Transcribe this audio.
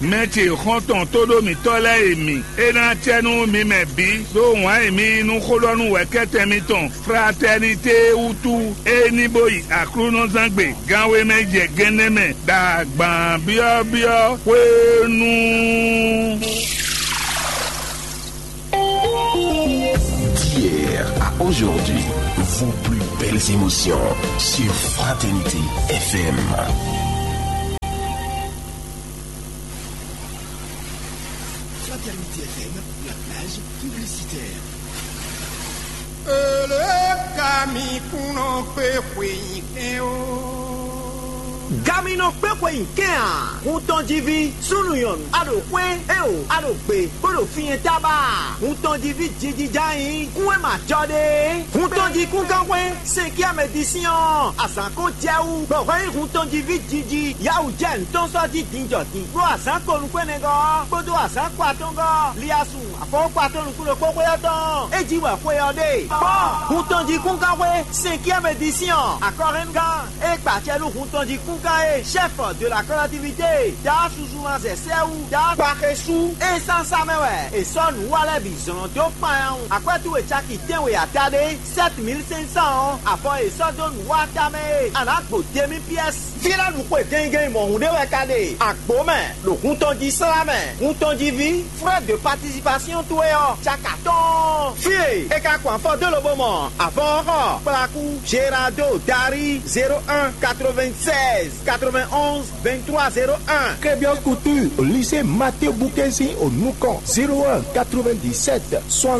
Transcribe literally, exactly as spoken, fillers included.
Mɛ ce xɔ́ntɔn tóɖó mǐtɔn lɛ́ɛ e mǐ, é ná acɛ nú mi mɛ bǐ ɖó wǎn e mi yí nú xó ɖɔ nú wɛ̌kɛ́tɛn mitɔn Fratɛnité wútu, é ní bó yi Aklúnɔzángbe ganwé mɛ jɛ gɛnɛ mɛ ɖo agban byɔ́byɔ́ hwenu. D'hier à aujourd'hui, vos plus belles émotions sur Fraternité F M. Fraternité F M, la plage publicitaire. Ele ka mi kúnɔ kpé xweyǐkɛ́n ó. Gaminɔ kpé xweyǐkɛ́n a? Hun tɔn jí ví, súnnu nyɔ̌nu, a ɖo xwé, éeǒ, a ɖo gbě, bó ɖo fí nyɛ tábá a? Hun tɔn jí ví jiji já nyí kún e ma jɔ ɖe é. Hun tɔn jí kúngán xwé, cinquième édition, azǎn ko jɛ wú, bɔ hwɛ nyí hun tɔn jí ví jiji, yawǔ jɛ nǔtɔn sɔ́ jí din jɔ din, ɖó azǎn ko nukúnnɛgɔ́ ɔ́, kpódó azǎn ko atɔ́ngɔ́ ɔ́, liasun afɔwɔ́kpa tɔn nukún ɖokpó xwé ɔ́ tɔn, é jí wɛ xwe ɔ́ ɖe. Kpɔ́n, hun tɔn jí kúngán xwé, cinquième édition, akɔhɛngán, é kpa acɛ nú hun tɔn jí kúngán é, chef de la collectivité, Daa Suzuma Zɛsɛwu, Daa Kpaxesu, é sán sá mɛ wɛ, è sɔ́ nǔ wa lɛ́ɛ bǐ zlɔ́n dó kpanyawun. Akwɛ́ towe caki tɛ́nwe ata ɖé, sept mille cinq cents ɔ́, avɔ e è sɔ́ dó nǔ wa tamɛ e a nǎ gbo demi pièce. Fí lɛ́ɛ ɖu xwe gɛngɛn mɔ̌hun ɖé wɛ ka ɖe, agbo mɛ, ɖo hun tɔn jí slá mɛ, hun tɔn jí ví, frais de participation towe ɔ́, caka tɔn. Fí e è ka kɔn afɔ dó lobo mɔ avɔ ɔ́ xɔ, kplakú, Gerardo, Dari, zéro un, quatre-vingt-seize, quatre-vingt-onze, vingt-trois, zéro un. Crébios Couture, au lycée Mathieu Bouquet, au Noucon, zéro un, quatre-vingt-dix-sept, soixante